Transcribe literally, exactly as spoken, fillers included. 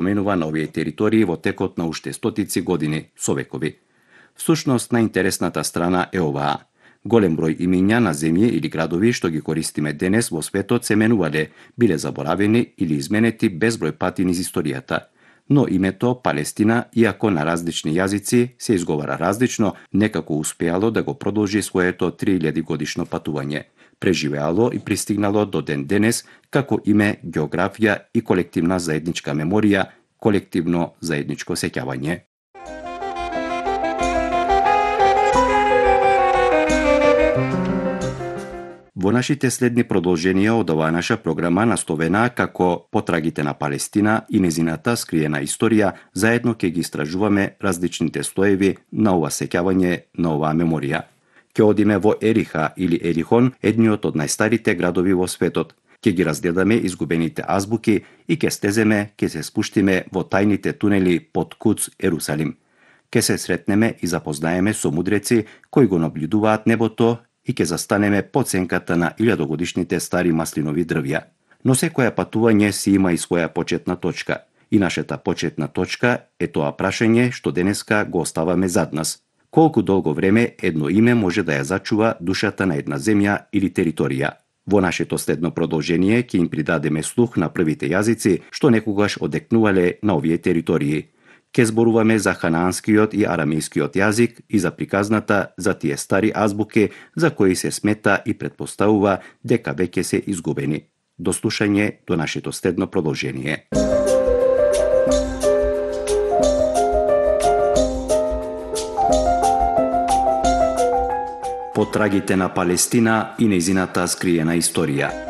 поменува на овие територии во текот на уште стотици години, со векови. Всушност, најинтересната страна е оваа. Голем број имиња на земји или градови што ги користиме денес во светот се менувале, биле заборавени или изменети безброј пати низ историјата. Но името Палестина, иако на различни јазици се изговара различно, некако успеало да го продолжи своето три илјади годишно патување. Преживеало и пристигнало до ден денес како име, географија и колективна заедничка меморија, колективно заедничко сеќавање. Во нашите следни продолженија од оваа наша програма, насловена како Потрагите на Палестина и незината скриена историја, заедно ќе ги истражуваме различните слоеви на ова сеќавање, на оваа меморија. Ќе одиме во Ериха или Ерихон, едниот од најстарите градови во светот. Ќе ги разгледаме изгубените азбуки и ќе стеземе, ќе се спуштиме во тајните тунели под Куц, Ерусалим. Ќе се сретнеме и запознаеме со мудреци кои го наблюдуваат небото и ќе застанеме под сенката на илјадогодишните стари маслинови дрвја. Но секоја патување си има и своја почетна точка. И нашата почетна точка е тоа прашање што денеска го оставаме зад нас. Колку долго време едно име може да ја зачува душата на една земја или територија? Во нашето следно продолжение ќе им придадеме слух на првите јазици што некогаш одекнувале на овие територии. Ке зборуваме за ханаанскиот и арамејскиот јазик и за приказната за тие стари азбуки за кои се смета и претпоставува дека веќе се изгубени. До слушање до нашето следно продолжение. Потрагите на Палестина и незината скриена историја.